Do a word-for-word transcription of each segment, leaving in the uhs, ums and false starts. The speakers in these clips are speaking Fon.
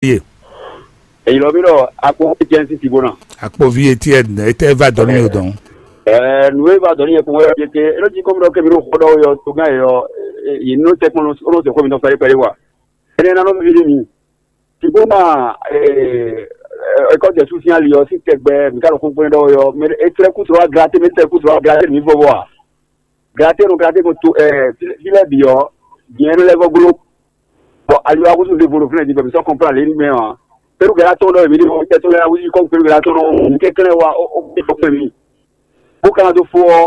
Ye. Èyí lɔ bí ɖɔ akpo Etienne sín Sibona. Akpovi Etienne, etɛ va dɔn ní yɔ dɔn. Ɛɛ, nǔ e va dɔn ní yɛ kún wɛ yɛ ké, é nɔ jí kɔmi ɖɔ kɛmi ɖo xɔ ɖɔ yɔ tó gán yɔ, yě nɔ tɛ kpɔn ó nɔ tɛ xɔ mi nɔ pɛɖe pɛɖe wa. Énɛ́ ná nɔ mi ɖe mi. Sibona, ɛɛ, ɛkɔ jɛ sú sín ali ɔ sín tɛgbɛ mi ka ɖo kún kpɔn ɖɔ yɔ, mɛ é tlɛ kú trɔ wa glate, mɛ é tlɛ kú trɔ wa glate mi vɔ vɔ a. Glate nɔ glate ko to, ɛɛ, fí lɛ bǐ ɔ, diɛ nɔ lɛ vɔ glo. Bɔ ali wa kútu ɖevo ɖo fúnɛ din bɔ mi sɔ kɔnplan lě ní mɛ ɔ́, Peru gɛlá tɔn ɖɔ mi ɖe mɔ tɛtɔ lɛ awu yi kɔn Peru gɛlá tɔn ɖɔ mi kɛnklɛn wa ó ó kpé kɔkpɛ mi. Bó ka ná dó fó ɔ́,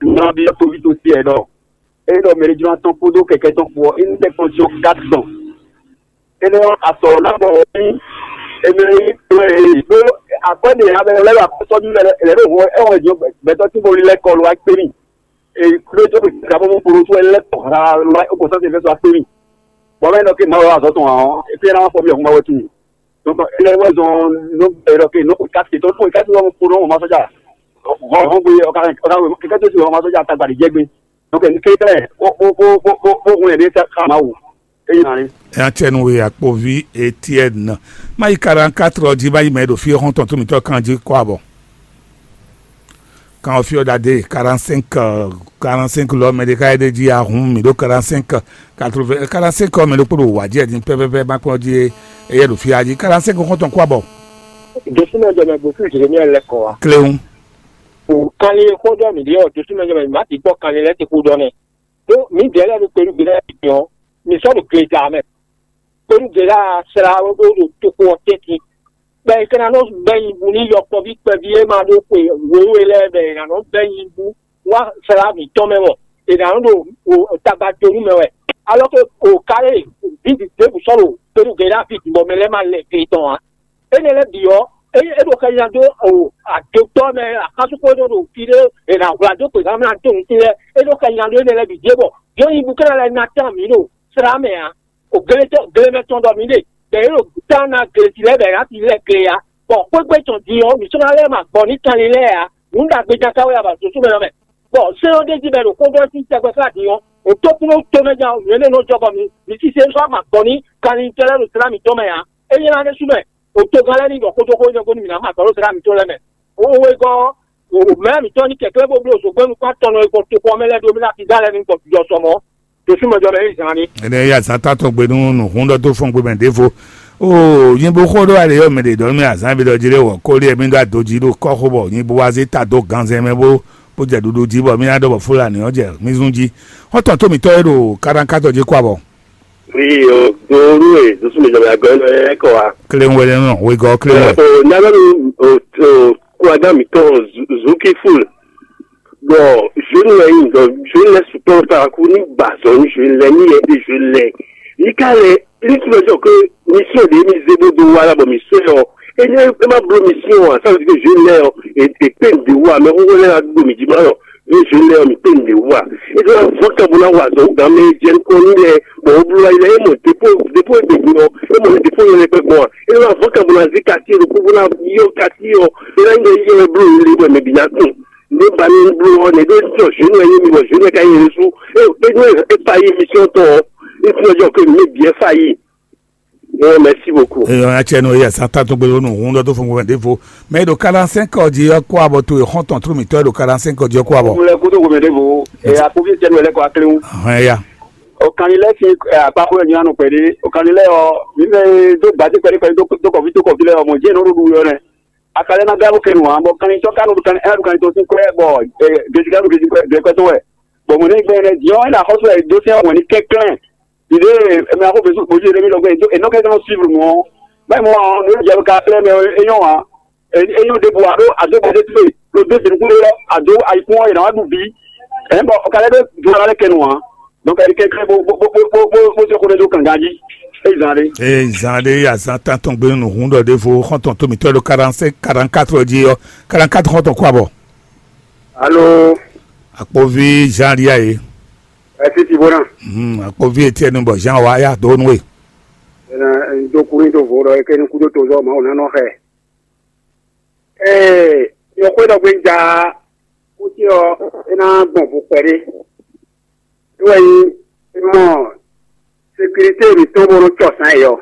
nɔ bi ɔ́ toví tó tiɛ ɖɔ é ɖɔ mɛ ɖé jló atɔn kpódó kɛkɛ tɔn kpó ɔ́, é ní tɛ kɔn jɔ kat tɔn. Énɛ́ ɔ́, asɔ ná bɔ ní èmi ɖó akwɛ́ ɖe abɛ lɛ́ ɖo akɔsɔ mi lɛ lɛ ɖo hɔ ɛ wɔ jɔ gbɛtɔ tí mo lɛ kɔ lo akpé mi. Ee, kúɖé tó kpé ká bó kúɖó tó lɛ kɔ ha lo ó kò sɔ́ se fɛ́ sɔ akpé mi. Bɔ mɛ nɔ ké Mawu azɔ tɔn ɔ́, é fẹ́ ná wá fɔ mi ɔ̀hún ma wɛ tun. Donc, é lɛ́ wɛ zɔn nɔ ɛ lɔ ké nɔ kó ká se tɔn tó ká se wá kó nɔ ma sɔ́jà. Hɔn hɔn gbé ɔka ɔka kɛkɛ tó ti wá ma sɔ́jà tagba ɖi jɛ gbé. Donc, ní kékeré ó ó ó ó ó ó hun yɛ ɖé ká Mawu. É nya ní. Nya tse nu we akpovi Etienne. Mayi quarante-quatre ɔ́ jí mayi mɛ ɖo fí xɔ́ntɔn tó mitɔ kan jí kɔ abɔ. Kan ɔ́ fí ɔ́ ɖadé quarante-cinq, quarante-cinq lɔ mɛ ɖé ká yɛ ɖé jí ahun mì ɖó quarante-cinq, quatre-vingts, quarante-cinq ɔ́ mɛ ɖokpó ɖo wǎ jí ɛdín pɛ́pɛ́pɛ́ má kpɔ́n jí éyɛ́ ɖo fí jí quarante-cinq xɔ́ntɔn kɔ abɔ. Jésù mɛ jɛ mɛ gbó fún Jérémie lɛ kɔ wa. Kléwún. O kanlin e xó ɖɔ mǐ ɖe ɔ́, Jésù mɛ jɛ mɛ má ti kpɔ kanlin lɛ́ɛ ti xó ɖɔ nɛ. Ɖó mǐdɛɛ lɛ́ɛ ɖo kpelúgbe lɛ́ɛ bǐ ɔ́, mǐ sɔ́ ɖo gleta mɛ. Kpelúgbe lɛ́ɛ slá wɛ bó ɖo toxo ɔ́ tɛ́ntin. Gbɛ e ka ná nɔ bɛ́ nyi bú nú yɔkpɔ́ví kpɛví e ma ɖó xwe wěwe lɛ́ɛ mɛ è nǎ nɔ bɛ́ nyi bú wá slá mǐtɔn mɛ mɔ, è nǎ nɔ ɖo tagba do nú mɛ wɛ. Alɔ ke o ka e vǐ ɖěbǔ sɔ́ ɖo kpelúgbe lɛ́ɛ ví bɔ mɛ lɛ́ɛ ma lɛ gbe tɔn ǎ. Énɛ́ lɛ́ɛ bǐ ɔ́, é é ɖo xɛ nya dó o adotɔ́ mɛ axánsúnxó e nɔ ɖo fí ɖé è nǎ hwlá dó gběhan mɛ ná dó nǔ lɛ́ɛ, é ɖo xɛ nya dó énɛ́ lɛ́ɛ bǐ jé bɔ yě nyibú ka ná lɛ́ ná tán mǐ ɖo slá mɛ ǎ. O glemɛtɔ́ glemɛtɔn ɖɔ mǐ ɖe, bɔ yě ɖo tán ná glesi lɛ́ɛ bɔ yě ná ti lɛ́ gle ǎ. Bɔ xwégbé tɔn din ɔ́, mǐ sɔ́ ná lɛ́ ma gbɔ ní kanlin lɛ́ɛ ǎ. Nǔ ɖagbe ján ká wɛ a ba zǒsú mɛ ɔ́ mɛ. Bɔ sɛ́n ɔ́ ɖ'é jí bɔ è ɖo xó ɖɔ sín tɛgbɛ xlá din ɔ́, o tó kún tó mɛ ján nǔ énɛ́ nɔ jɔ bɔ mǐ mǐ sísé sɔ́ ma gbɔ ní kanlin tɔn lɛ́ɛ ɖo slá mǐtɔn mɛ ǎ. É nyí ná ɖésú mɛ, o togán lɛ́ɛ ní ɖɔ xódó xó énɛ́ gɔ́ nú mǐ ná ma gbɔ ɖó slá mǐtɔn lɛ́ɛ mɛ. Wéwé gɔ́, mɛ mǐtɔn ní kɛ̀kẹ́ bó bló zǒgbɛ́nú kpán tɔn nɔ e gbɔ toxo ɔ́ mɛ lɛ́ɛ ɖó mì ná fídá lɛ́ɛ ní gbɔ jɔ sɔ mɔ̌. Josú mɛ jɔ mɛ yí zan ní. Ene ya zan tatɔ gbe nú nǔhún ɖɔ dó fɔn gbe mɛ ɖěvo. O nyí bó xó ɖó alě yɔ mɛ ɖě ɖɔ mì azán bi ɖɔ jí ɖé wɔ kó lé mi ɖó adojí ɖó kɔ́ xó bɔ nyí bó wá zé ta dó ganzɛn mɛ bó bó jɛ ɖuɖu jí bɔ mì ná ɖɔ bɔ Fúlani ɔ́ jɛ mì zún jí. Xɔ́ntɔn tó mǐtɔn e ɖo káɖánkátɔ jí kó abɔ. Oui, o do nu e do sumi jɔmɛ agɔ nɔ ɛ kɔ wa. Kelen wele nɔ wegɔ kelen wɛ. O nana nu o o kuragan mi tɔn zuki ful. Bɔn zoni wɛ yin dɔ zoni lɛ sukpɔ ta ku ni gba zɔn ni zoni lɛ ni yɛ de zoni lɛ. Ni ka lɛ ni tu lɛ jɔ ke mi sɔ de mi ze bo do wa la bɔ mi sɔ yɔ. E ne e ma blo mi si o a sa ke zoni lɛ yɔ e e pe de wa mɛ ko lɛ la do mi di ma yɔ. Ní zwe lɛ ɔ́, mǐ kpé nǔɖé wú a? É ɖó ná vɔ́ kan bó ná wa azɔ̌ wú gǎn mɛ e jɛ nukɔn n'i lɛ́ɛ, bɔ wǒbló wá yi lɛ́ɛ é mɔ děpó děpó e ɖe din ɔ́, é mɔ ní děpó nyɔ́ lɛ́ɛ kpɛ́ gbɔn a? É ɖó ná vɔ́ kan bó ná zí katíe ɖokpó bó ná yɔ́ katíe ɔ́, é ná nyí ɖɔ yí wɛ bló yě lé bɔ mɛ bǐ ná kún. Nǔ ba ní bló ɔ́, nɛ̌ ɖó jɔ zwe nú wɛ nyí mi bɔ zwe nú wɛ ka nyí yě sú? É é ɖó é fa yí émission tɔn ɔ́, é fi ɔ́ jɔ kó mǐ mɛ bǐ ɛ fa yí. Bon, merci beaucoup. Eyɔ ya tsɛ nɔ eya sa ta tɔn gbɛlɛ nu hun dɔ to fun gbɛmɛ devo. Mais ɖo quarante-cinq heures dzi ɔkɔ abɔ to exɔn tɔn tro mitɔ ɖo quarante-cinq heures dzi ɔkɔ abɔ. Mo lɛ kudo gbɛmɛ devo. E akovi tsɛ nɔ lɛ kɔ aklewu. Hɛn ya. O kan ni lɛ si akpa ko nyɔ anu pɛde. O kan ni lɛ ɔ mi bɛ do gbadé pɛde pɛde do kɔfi do kɔfi lɛ ɔ mɔ jɛ nɔ ɖo ɖu yɔ nɛ. Akalɛ na galo kɛ nu wa bɔ kan ni tɔ kanu kan ɛna du kan ni tɔ sin kɔɛ bɔ gesi kanu gesi kɔɛ bɛ kɔɛ tɔ wɛ. Bɔn mo ne gbɛ nɛ diɔ ɛna xɔsɔ ɛ do sɛ wɛ ni kɛklɛn. Ìdè mɛ akó bɛ sɔn kpodzi ɖe mi lɔ gbɛ do enɔ kɛ kan suivre mɔ. Báyìí mɔ àwọn ọ̀nà ìjọba ká pẹ́lẹ́ mɛ é yàn wá. É yàn dé bu àdó àdó bɛ dé tó ló dé sèlú kúló lọ àdó àyíkún ẹ̀ náà wá dùn bí. Ẹ̀ ń bọ̀ ọ̀kadà dé dùn ara lẹ́kẹ̀ nù wá. Donc ẹ̀ kẹ́ kẹ́ bó bó bó bó bó bó ṣe kó lè dó kànga jí. É zan dé. Ee zan ɖe azan tantɔn gbé nínú hun ɖɔ ɖévo xɔntɔn tómi tɔ ɖo quarante-cinq quarante-quatre jí yɔ quarante-quatre xɔntɔn kó abɔ. Alo. Akpovi Jean Lia ye. Ẹ ti ti bó ná. Hmm, akpovi Etienne bɔ Jean wa ya do nue. Ena do kuru do vo ɖɔ eke ní kúdó tozɔ ma wò nánɔ xɛ. Ee, yɔ xwé ɖɔ gbé ja kúti ɔ, é ná gbɔn vo kpɛɖé. É wɛ nyí é mɔ sécurité mǐtɔn bó nɔ tsɔ sán yɔ.